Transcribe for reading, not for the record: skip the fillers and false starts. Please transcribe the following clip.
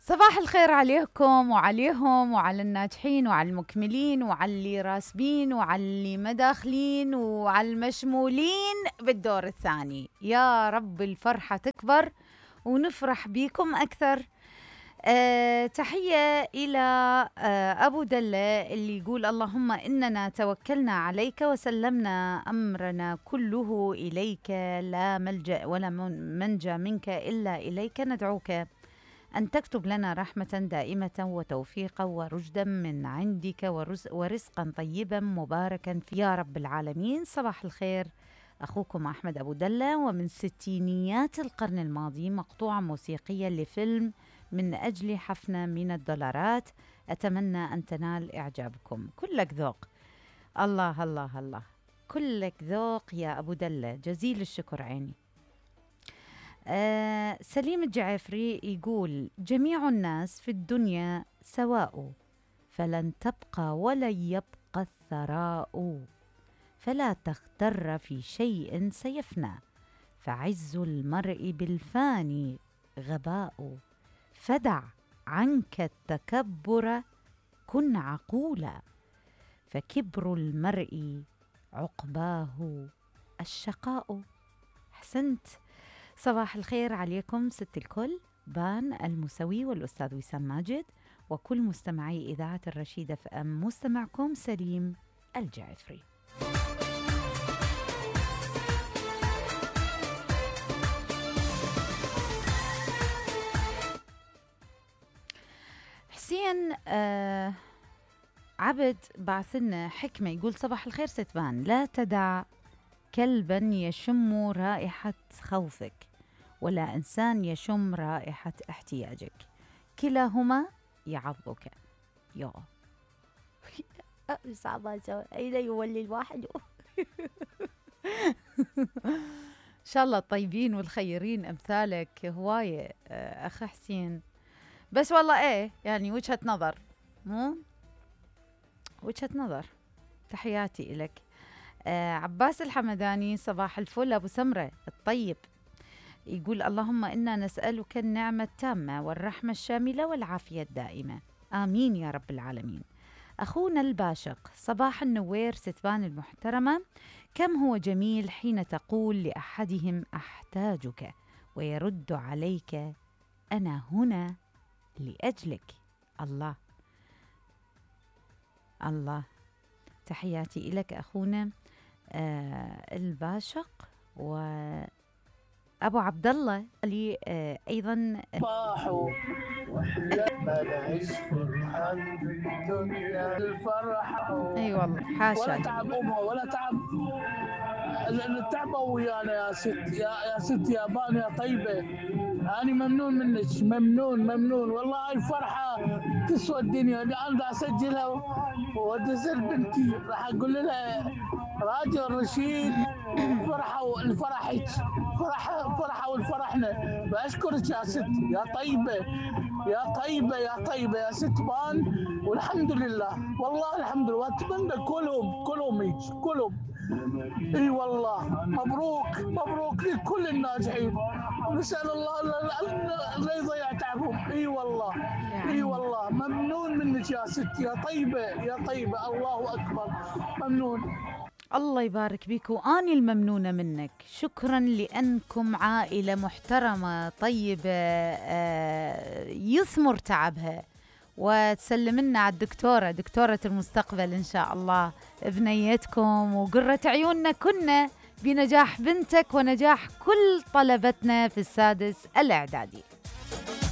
صباح الخير عليكم وعليهم وعلى الناجحين وعلى المكملين وعلى اللي راسبين وعلى اللي مداخلين وعلى المشمولين بالدور الثاني. يا رب الفرحة تكبر ونفرح بيكم أكثر. تحية إلى أبو دلة اللي يقول اللهم إننا توكلنا عليك وسلمنا أمرنا كله إليك، لا ملجأ ولا منجى منك إلا إليك، ندعوك أن تكتب لنا رحمة دائمة وتوفيقا ورشدا من عندك ورزقا طيبا مباركا فيه يا رب العالمين. صباح الخير، أخوكم أحمد أبو دلة، ومن ستينيات القرن الماضي مقطوعة موسيقية لفيلم من أجل حفنة من الدولارات، أتمنى أن تنال إعجابكم. كلك ذوق. الله الله الله، كلك ذوق يا أبو دلة، جزيل الشكر عيني. سليم الجعفري يقول جميع الناس في الدنيا سواء، فلن تبقى ولن يبقى الثراء، فلا تغتر في شيء سيفنى، فعز المرء بالفاني غباء، فدع عنك التكبر كن عقولا، فكبر المرء عقباه الشقاء. أحسنت. صباح الخير عليكم ست الكل، بان المسوي والأستاذ وسام ماجد وكل مستمعي إذاعة الرشيدة FM، مستمعكم سليم الجعفري. حسين عبد بعثنا حكمة يقول صباح الخير ستبان، لا تدع كلبا يشم رائحة خوفك ولا إنسان يشم رائحة احتياجك، كلاهما يعضك. يا صعبة، أين يولي الواحد؟ إن شاء الله الطيبين والخيرين أمثالك هواية أخ حسين، بس والله إيه يعني وجهة نظر، مو وجهة نظر. تحياتي إلك. عباس الحمداني صباح الفل أبو سمرة الطيب، يقول اللهم إنا نسألك النعمة التامة والرحمة الشاملة والعافية الدائمة، آمين يا رب العالمين. أخونا الباشق صباح النوير ستبان المحترمة، كم هو جميل حين تقول لأحدهم أحتاجك ويرد عليك أنا هنا لأجلك. الله الله، تحياتي إلك أخونا الباشق. وأبو عبد الله لي أيضا صباحو لما نعيش فرحان بالدنيا الفرحة. أي والله حاشا، ولا تعب أمه ولا تعب التعبة ويانا يا ست، يا ست يا بان يا طيبة، أنا ممنون منك، ممنون والله. هاي الفرحة تسوى الدنيا. أنا دا أسجلها وأدزل بنتي، راح أقول لها راديو الرشيد فرحة الفرحك، فرحة والفرحنا. بأشكرك يا ست يا طيبة يا طيبة يا طيبة يا ست بان، والحمد لله والله الحمد لله. وأتمنى كلهم هيك كلهم. اي والله مبروك لكل الناجحين، نسأل الله لا يضيع تعبهم. اي والله ممنون منك يا ست يا طيبة الله أكبر، ممنون. الله يبارك بيك، وأني الممنونة منك. شكرا لأنكم عائلة محترمة طيبة يثمر تعبها، وتسلم لنا على دكتورة المستقبل إن شاء الله، بنيتكم وقرة عيوننا كنا بنجاح بنتك ونجاح كل طلبتنا في السادس الإعدادي.